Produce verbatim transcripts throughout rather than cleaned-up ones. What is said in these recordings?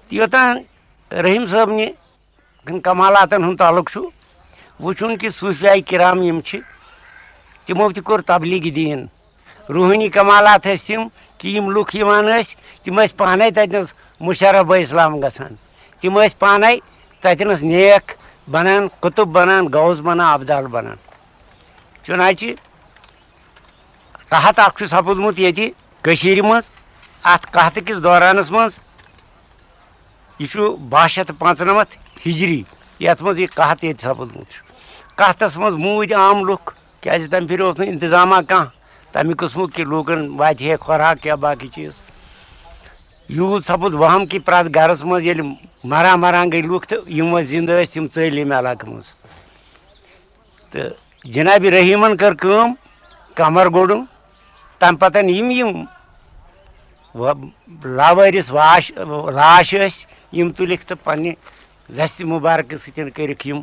تہٕ یوٚتام رحیٖم صٲبنہِ کمالاتن ہُنٛد تعلق چھُ، وٕچھُن کہِ صوٗفیاے کرام یِم چھِ، تِمو تہِ کوٚر تبلیغ دیٖن۔ روحٲنی کمالات ٲسۍ تِم کہِ یِم لُکھ یِوان ٲسۍ، تِم ٲسۍ پانے تتہِ نس مشرف بہ اسلام گژھان۔ تِم ٲسۍ پانے تتہِ نس نیک بنان، قطب بنان، غوث بنان، ابدال بنان۔ چُنانچہ قحط اکھ چھُ سپُدمُت ییٚتہِ کٔشیٖرِ منٛز۔ اتھ قحطہٕ کِس دورانس منٛز، یہِ چھُ باہ شیٚتھ تہٕ پانٛژنمتھ ہجری، یتھ منٛز یہِ قحط ییٚتہِ سپُدمُت چھُ۔ قحطس منٛز موٗدۍ عام لُکھ، کیازِ تمہِ پھِرِ اوس نہٕ انتظامہ کانٛہہ تمہِ قٕسمُک کہِ لوٗکن واتہِ ہے خوراک یا باقٕے چیٖز۔ یوٗت سپُد وہم کہِ پرٛٮ۪تھ گرس منٛز ییٚلہِ مران مران گٔے لُکھ تہٕ یِم وۄنۍ زِندٕ ٲسۍ، تِم ژٔلۍ ییٚمہِ علاقہٕ منٛز۔ تہٕ جناب رحیٖمن کٔر کٲم، کمر گوٚڈُم۔ تمہِ پتہٕ یِم یِم و-، لاوٲرِث واش، لاش ٲسۍ، یِم تُلِکھ تہٕ پننہِ دستِ مُبارکہٕ سۭتۍ کٔرِکھ یِم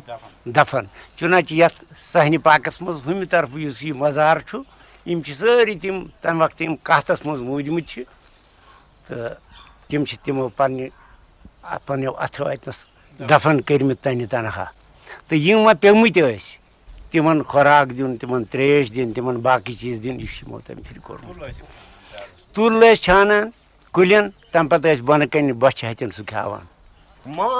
دفن۔ چُنانچہ یتھ صحنِ پاکس منٛز ہُمہِ طرفہٕ یُس یہِ مزار چھُ، یِم چھِ سٲری تِم تمہِ وقتہٕ یِم قحطس منٛز موٗدمٕتۍ چھِ، تہٕ تِم چھِ تِمو پننہِ، پننیو اتھو اتنس دفن کٔرمٕتۍ تنہِ تنہا۔ تہٕ یِم وۄنۍ پیٚمٕتۍ ٲسۍ، تِمن خوراک دیُن، تِمن تریش دِنۍ، تِمن باقٕے چیٖز دِنۍ، یہِ چھُ یِمو تمہِ پھِرِ کوٚرمُت۔ تُل ٲسۍ چھانان کُلٮ۪ن، تمہِ پتہٕ ٲسۍ بۄنہٕ کنہِ بۄچھِ ہتٮ۪ن سُہ کھٮ۪وان۔